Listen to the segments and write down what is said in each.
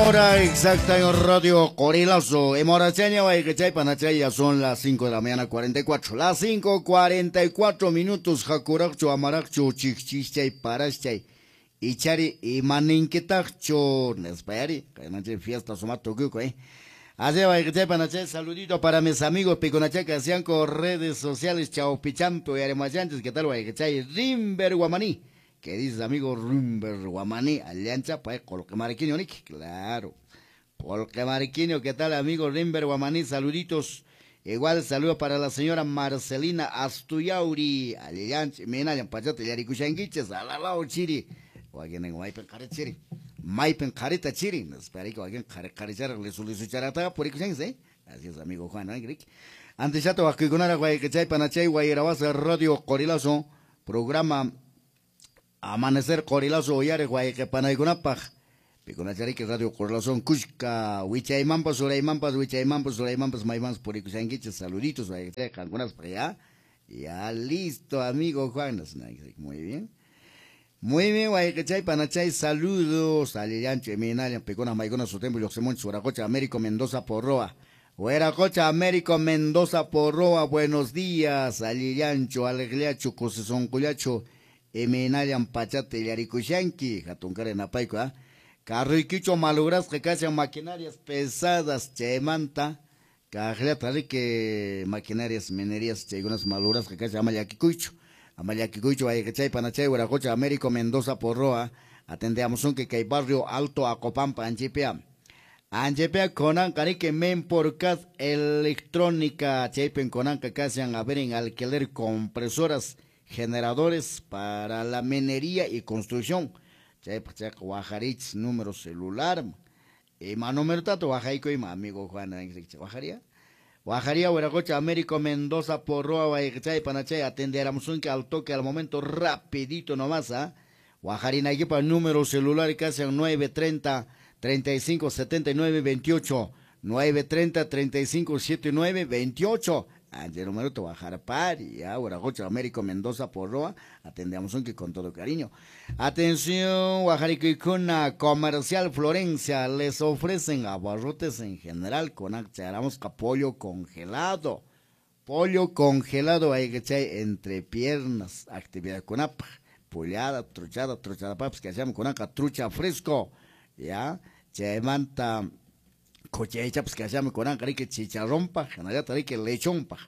Hora exacta en Radio Corilazo. Emorachaña, Guayquechay, ya son las 5 de la mañana 44. Las 5:44 minutos. Jakuraqchu, amaraqchu, chikchichay, paraschay. Ichari, imaninquitaqchu. Nespayari, que fiesta sumato, eh. Así Guayquechay, Panachay, saludito para mis amigos Piconachaca, que hacían con redes sociales, Chaupichampo y Aremachantes. ¿Qué tal, Guayquechay? Rimber Guamaní. ¿Qué dices, amigo Rimber Guamaní? Alianza, pues, Colquemariquinho, Nick. Claro. Colquemariquinho, ¿qué tal, amigo Rimber Guamaní? Saluditos. Igual saludo para la señora Marcelina Astuyauri. Alianza, Menayan, Pachate, Yaricushanguiches, Alalao, Chiri. Waguenen, Maipen, Chiri. Maipen, Carita, Chiri. Espera que alguien caricharra, le solicicharata, por ¿eh? Así es, amigo Juan, ¿no? Antes ya te vas a Guayquechay, Panachay, Guayrabaza, Radio Corilazo, programa Amanecer Corilazo, Oyare, Guayquepanaygunapaj, Piconachariki, Radio Corilazo, Cusca, Wichaymampas, Uraymampas, Wichaymampas, Uraymampas, Maymampas, Puricusanguiches, saluditos, Guayquechay, para allá. Ya listo, amigo Juan. Muy bien. Muy bien, Guayquechay, Panachay, saludos. Alillancho, Eminalian, Picona, Maicona, Sotembo, Yoxemonch, Huaracocha, Américo, Mendoza, Porroa. Hueracocha, Américo, Mendoza, Porroa, buenos días. Alillancho, Alegliacho, Cosesoncuyacho, Eminalian, Pachate, Yaricushanqui, Jatuncare, Napaico, ¿ah? Carriquicho, malogras, que casi maquinarias pesadas, Chemanta, Cajlata, que maquinarias, minerías, chegunas malogras, que casi Amayaquicuicho. Amayaquicuicho, Guayquechay, Panachay, Huaracocha, Américo, Mendoza, Porroa. Atendemos un que hay barrio Alto, Acopampa, Anchipea. Anchipea, Conan, Carique, Memporcat, Electrónica, Chaipen, Conan, Cacasian, a ver en alquiler compresoras, generadores para la minería y construcción. Chaipa, Guajarich, número celular. Y más número tato, Guajaico y amigo Juan, Guajaría. Guajaría, Hueracocha, Américo, Mendoza, Porroa, Guayquechay, Panachay, atenderamos un que al toque, al momento, rapidito nomás, ¿ah? Guajarina, equipa, número celular, casi 930 35 79 28, 930 35 79 28. Ayer número te Guajarpari, ya, Hueracocha, Américo, Mendoza, Porroa, atendemos un que con todo cariño. Atención, Guajarico Comercial Florencia, les ofrecen abarrotes en general con acharamos pollo congelado. Pollo congelado, hay que echar entre piernas, actividad con apa, pollada, truchada, truchada papas, que hacemos con acá, trucha fresco, ya, chemanta. Cochecha, pues que hacemos con que chicharrón pa, que lechón pa,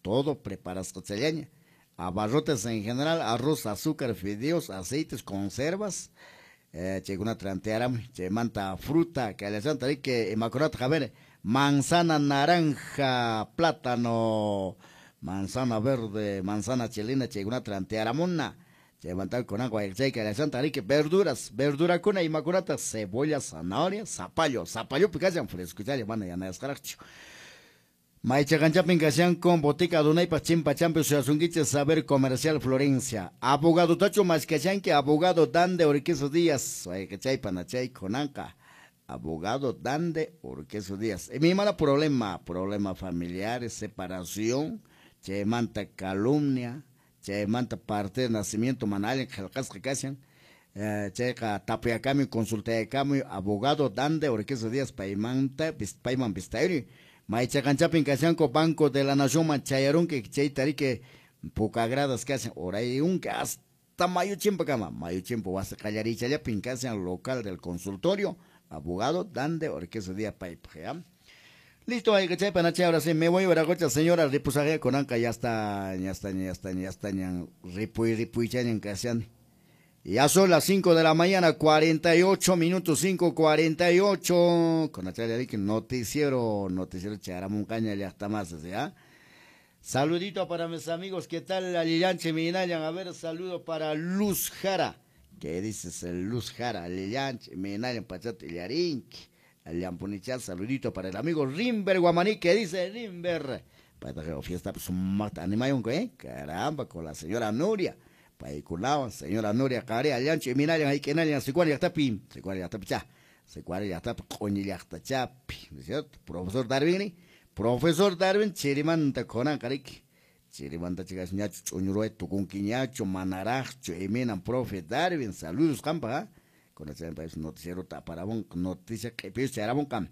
todo preparas cochellaña. Abarrotes en general, arroz, azúcar, fideos, aceites, conservas, cheguna trantearam, chemanta fruta, que le hacen que emacorata, a ver, manzana naranja, plátano, manzana verde, manzana chilena, cheguna trantearamona. Levantar con agua, que le hacen que verduras, verdura con inmaculata, cebolla, zanahoria, zapallo, zapallo, picayan fresco, ya le van a llamar escaracho. Maichacanchapin casian con botica Dunaipa Chimpa Champe Suazunguiche Saber Comercial Florencia. Abogado Tacho Mascachanque, abogado Dande Orqueso Díaz, Guayquechay, Panachay, Conanca. Abogado Dande Orqueso Díaz. Y mi mala problema, problema familiar, separación, chemanta calumnia. Manta parte de nacimiento manal jalcasca casian checa tapiacami consultayacami abogado Dande Orqueso Díaz paimanta paiman bistairi maichacanchapin casianco Banco de la Nación manchayarun que chaytarique poca gradas casian orayun que hasta mayuchimpa cama mayuchimpa vas a callarichallapin casian local del consultorio abogado Dande Orqueso Díaz paipja. Listo, hay que panache, ahora sí, me voy a Veracocha, señora, ripusaje con anca, ya está, ya está, ya está, ya está, ya, ripuy, ripuy, ya, casian. Ya son las 5 de la mañana, 48 minutos, 5:48, con la noticiero, noticiero, charamuncaña, ya está más, ¿ya? Saludito para mis amigos, ¿qué tal? Alillanche, Minayan, a ver, saludo para Luz Jara, ¿qué dices, Luz Jara? Alillanche, Minayan, Pachate, Yarinque. Aliampunichal, saludito para el amigo Rimber Guamaní, que dice Rimber. Para fiesta, pues, ¿eh? Caramba, con la señora Nuria. Paiculao, señora Nuria, Care, Aliancho, Minayan, Aikenalian, Secuaria, Tapi, Secuaria, Tapi, cha, Secuaria, Tapi, Coñillaxta, Chapi, ¿no es cierto? Profesor Darwin, Profesor Darwin, Chirimanta, Conan, Carique, Chirimanta, chicas, ñacho, Chuñurueto, Cunquiñacho, Manaracho, Eminan, profe Darwin, saludos, campa, ¿eh? Kunachay noticiero taparabun noticia q'ipis chayaramunqa.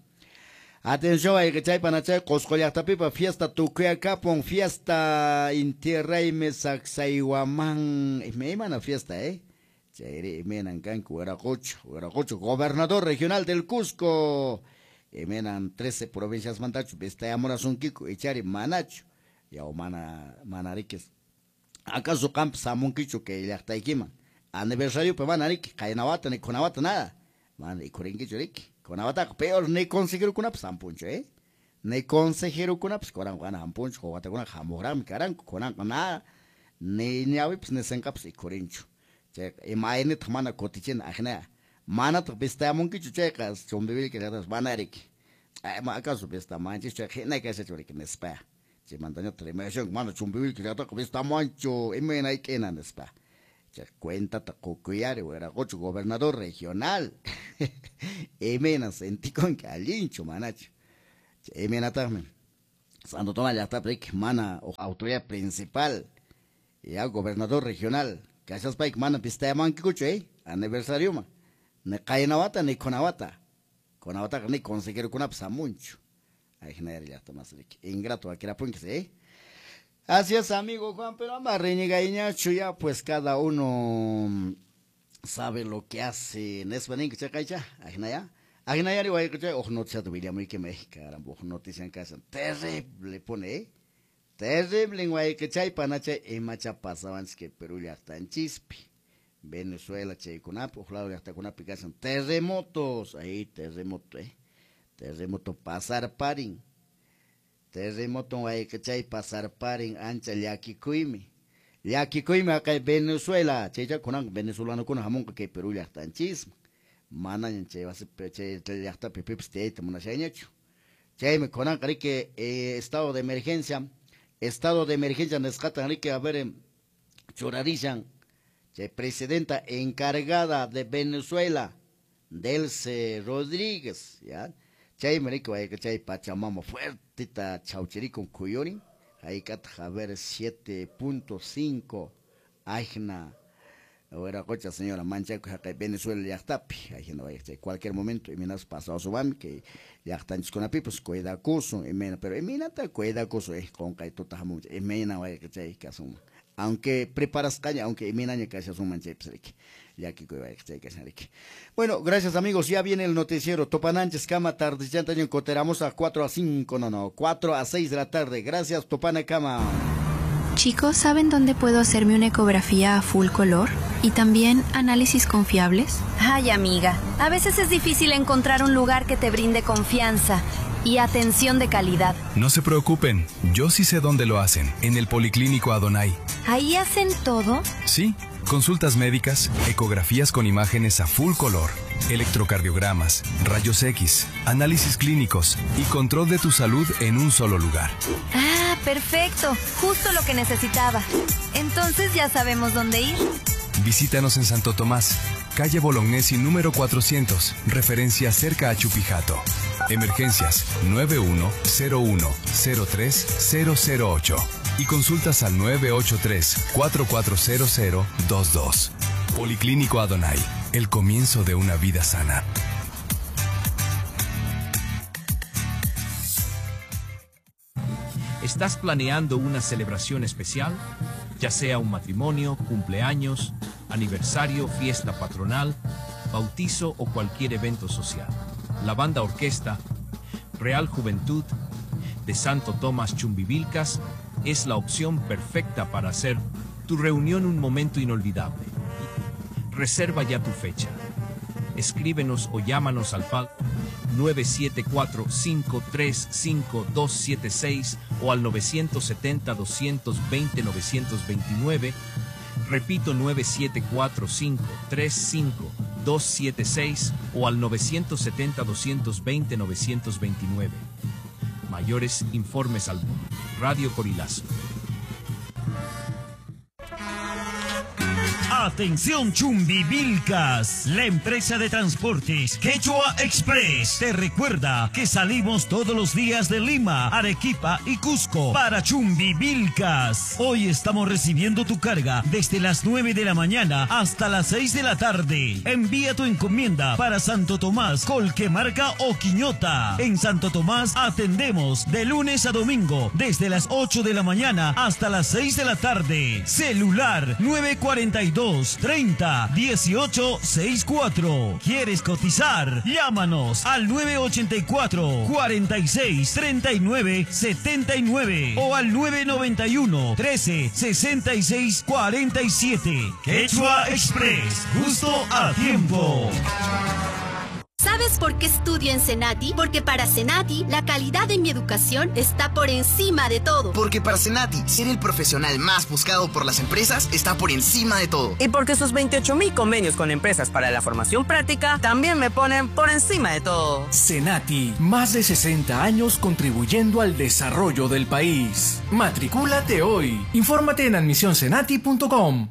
Atención, wayqichay panachay Qusqu llaqtapipa fiesta tukuyakapun, fiesta Inti Raymi Sacsayhuamán, imaymana fiesta, Chayri imaynan kanku Wiraqocha, gobernador regional del Cusco, imaynan 13 provincias mantachu vistayamurasunkiku ichari manachu, yaw mana manarikis. ¿Acaso qampas hamunkichu kay llaqtaykiman? Aniversariopi mana riki, qaynawata ni kunawata nada. Mana ikurinkichu riki. Kunawataqa peor ni consejerokunapas hampunchu, Ni consejerokunapas kuranqa mana hampunchu, wawatakunaqa hamuqraqmi karanku, kunanqa nada, ni ñawipas ni sinqapas ikurinchu. Chayqa imaynitaq mana kutichina ajina, manataq vistayamunkichu chayqa Chumbivilca llaqtapas mana riki. Acaso vistamanchis chayqa hina kashachu riki nispa. Chaymantañataq rimayashunku mana Chumbivilca llaqtaqa vistamanchu imaynayki nispa. Chay cuentata qukuyari Wiraqocha gobernador regional. Imayna sentikunki allinchu manachu. Imaynataqmi Santo Tomás llaqtapi riki mana autoridad principal ya gobernador regional kashaspayki mana vistayamankichu aniversarioman ni qaynawata ni kunawata kunawataqa ni consejerokunapas hamunchu. Ajinayari llaqta mas riki ingrato akirapunkis Así es, amigo Juan, pero ama reñegaiñachu ya, pues cada uno sabe lo que hace. Nespa ninki chaqaycha, ajinaya. Ajinayari wayqichay uj noticiata willamuyki, caramba, uj noticia kashan terrible pone, Terrible wayqichay panachay imacha pasawanchis kay Perú llaqtanchispi. Venezuela chaykunapi, uj lado llaqtakunapi kashan terremotos, ahí terremoto, terremoto pasarparin. Terremoto wayqichay pasarparin ancha llakikuymi. Llakikuymi aqay Venezuela, chaycha kunan venezolanokuna hamunqa kay Perú llaqtanchisman. Manaña chay wasipi chay llaqtapi pipas tiyayta munashayñachu. Chaymi kunanqa riki estado de emergencia nisqatan riki a ver churarishan chay presidenta encargada de Venezuela, Delcy Rodríguez, ya. Chaymi riki wayqichay Pachamama fuertita chawchirikun kuyurin, hayk'ataq a ver 7.5 ajna Wiraqocha señora manchakuy haqay Venezuela llaqtapi, ajina wayqichay cualquier momento imaynas pasawasuwanmi kay llaqtanchiskunapipas cuidakusun imayna, pero imaynata cuidakusun qunqay tuta hamunchik imayna wayqichay kasunman. Aunque preparasqaña, aunque imaynaña kashasunman chaypas riki. Llakikuy wayqichay kashan riki. Bueno, gracias amigos, ya viene el noticiero Topananchis kama tardechantaño coteramos a 4 a 5, no, 4 a 6 de la tarde. Gracias Topana kama. Chicos, ¿saben dónde puedo hacerme una ecografía a full color? ¿Y también análisis confiables? Ay, amiga, a veces es difícil encontrar un lugar que te brinde confianza y atención de calidad. No se preocupen, yo sí sé dónde lo hacen, en el Policlínico Adonai. ¿Ahí hacen todo? Sí, consultas médicas, ecografías con imágenes a full color, electrocardiogramas, rayos X, análisis clínicos y control de tu salud en un solo lugar. Ah, perfecto, justo lo que necesitaba. Entonces ya sabemos dónde ir. Visítanos en Santo Tomás, calle Bolognesi número 400, referencia cerca a Chupijato. Emergencias 9101-03008 y consultas al 983-440022. Policlínico Adonai, el comienzo de una vida sana. ¿Estás planeando una celebración especial? Ya sea un matrimonio, cumpleaños, aniversario, fiesta patronal, bautizo o cualquier evento social. La banda orquesta Real Juventud de Santo Tomás Chumbivilcas es la opción perfecta para hacer tu reunión un momento inolvidable. Reserva ya tu fecha. Escríbenos o llámanos al PAL 974-535-276 o al 970-220-929. Repito, 974-535-276 o al 970-220-929. Mayores informes al Radio Corilazo. Atención Chumbivilcas, la empresa de transportes Quechua Express te recuerda que salimos todos los días de Lima, Arequipa y Cusco para Chumbivilcas. Hoy estamos recibiendo tu carga desde las 9 de la mañana hasta las 6 de la tarde. Envía tu encomienda para Santo Tomás, Colquemarca o Quiñota. En Santo Tomás atendemos de lunes a domingo desde las 8 de la mañana hasta las 6 de la tarde. Celular 942 30 18 64. ¿Quieres cotizar? Llámanos al 984 46 39 79 o al 991 13 66 47. Quechua Express, justo a tiempo. ¿Sabes por qué estudio en Senati? Porque para Senati, la calidad de mi educación está por encima de todo. Porque para Senati, ser el profesional más buscado por las empresas está por encima de todo. Y porque sus 28.000 convenios con empresas para la formación práctica también me ponen por encima de todo. Senati, más de 60 años contribuyendo al desarrollo del país. Matricúlate hoy. Infórmate en admisionsenati.com.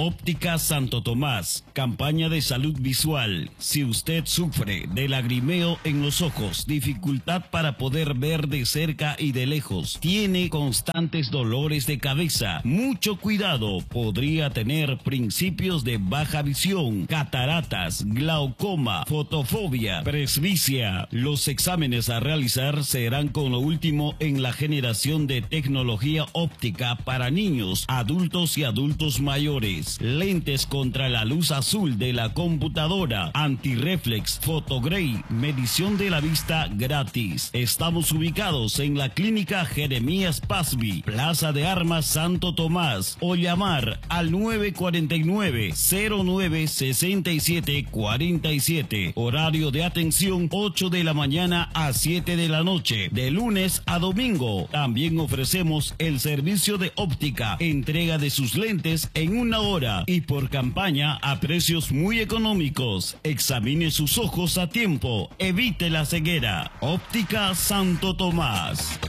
Óptica Santo Tomás, campaña de salud visual. Si usted sufre de lagrimeo en los ojos, dificultad para poder ver de cerca y de lejos, tiene constantes dolores de cabeza, mucho cuidado, podría tener principios de baja visión, cataratas, glaucoma, fotofobia, presbicia. Los exámenes a realizar serán con lo último en la generación de tecnología óptica para niños, adultos y adultos mayores. Lentes contra la luz azul de la computadora, antirreflex, fotogrey, medición de la vista gratis. Estamos ubicados en la clínica Jeremías Pazbi, Plaza de Armas Santo Tomás, o llamar al 949 09 67 47. Horario de atención 8 de la mañana a 7 de la noche, de lunes a domingo. También ofrecemos el servicio de óptica, entrega de sus lentes en una hora y por campaña a precios muy económicos. Examine sus ojos a tiempo, evite la ceguera. Óptica Santo Tomás.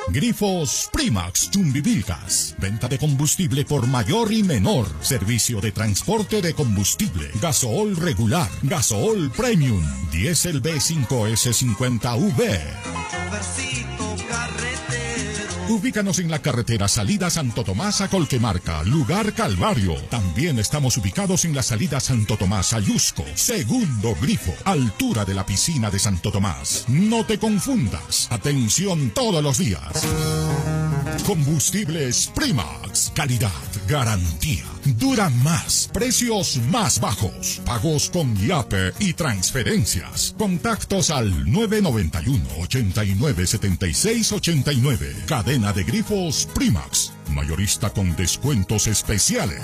Grifos Primax Chumbivilcas. Venta de combustible por mayor y menor. Servicio de transporte de combustible. Gasohol regular. Gasohol premium. Diésel B5S50V. Ubícanos en la carretera salida Santo Tomás a Colquemarca, lugar Calvario. También estamos ubicados en la salida Santo Tomás a Yusco, segundo grifo, altura de la piscina de Santo Tomás. No te confundas. Atención todos los días. Combustibles Primax. Calidad, garantía. Dura más. Precios más bajos. Pagos con IAPE y transferencias. Contactos al 991 89 76 89. Cadena de grifos Primax. Mayorista con descuentos especiales.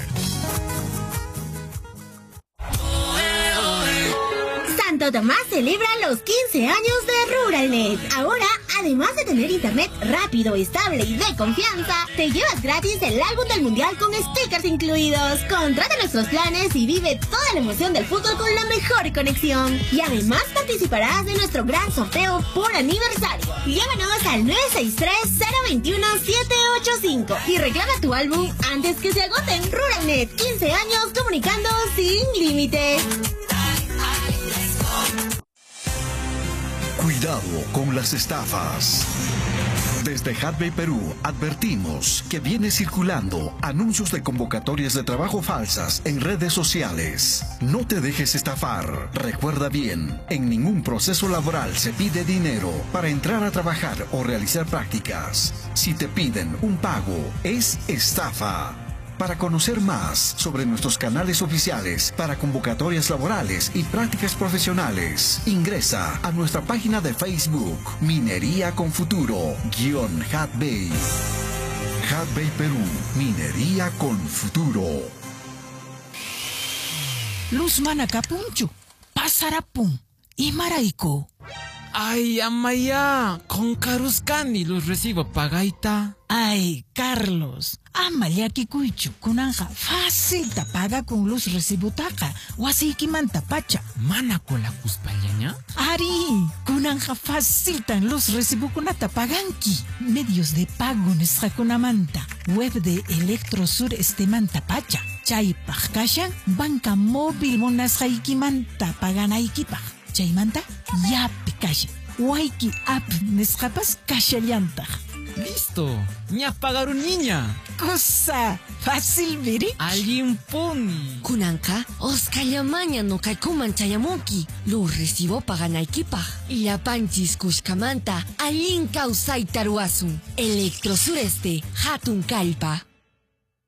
Santo Tomás celebra los 15 años de RuralNet. Ahora, además de tener internet rápido, estable y de confianza, te llevas gratis el álbum del mundial con stickers incluidos. Contrata nuestros planes y vive toda la emoción del fútbol con la mejor conexión. Y además participarás de nuestro gran sorteo por aniversario. Llámanos al 963-021-785 y reclama tu álbum antes que se agoten. RuralNet, 15 años comunicando sin límites. Cuidado con las estafas. Desde Hudbay Perú advertimos que viene circulando anuncios de convocatorias de trabajo falsas en redes sociales. No te dejes estafar. Recuerda bien, en ningún proceso laboral se pide dinero para entrar a trabajar o realizar prácticas. Si te piden un pago, es estafa. Para conocer más sobre nuestros canales oficiales para convocatorias laborales y prácticas profesionales, ingresa a nuestra página de Facebook Minería con Futuro -Hudbay. Hudbay Perú, Minería con Futuro. Luz manacapunchu, pasarapun, imaraiku. Ay, amaya, con caruscani los recibo pagaita. Ay, Carlos, ama llakikuychu, kunanqa facilta pagakun luz recibutaqa, wasiykimanta pacha. Mana colakuspallaña? Ari, kunanqa faciltan luz recibokunata paganki. Medios de pago nisqakunamanta, web de Electrosur estemanta pacha. Chaypaq kashan banca móvil munasqaykimanta paganaykipaq. Chaymanta yapi kashan. Wayki app nisqapas kashallantaq. Listo, ña pagaruniña. Cosa fácil viri. Allinpuni. Kunanqa osqhayllamaña nuqaykuman chayamunki. Luz recibo paganaykipaq. Llapanchis kushkamanta allin kawsayta ruwasun. Electrosureste, hatun kallpa.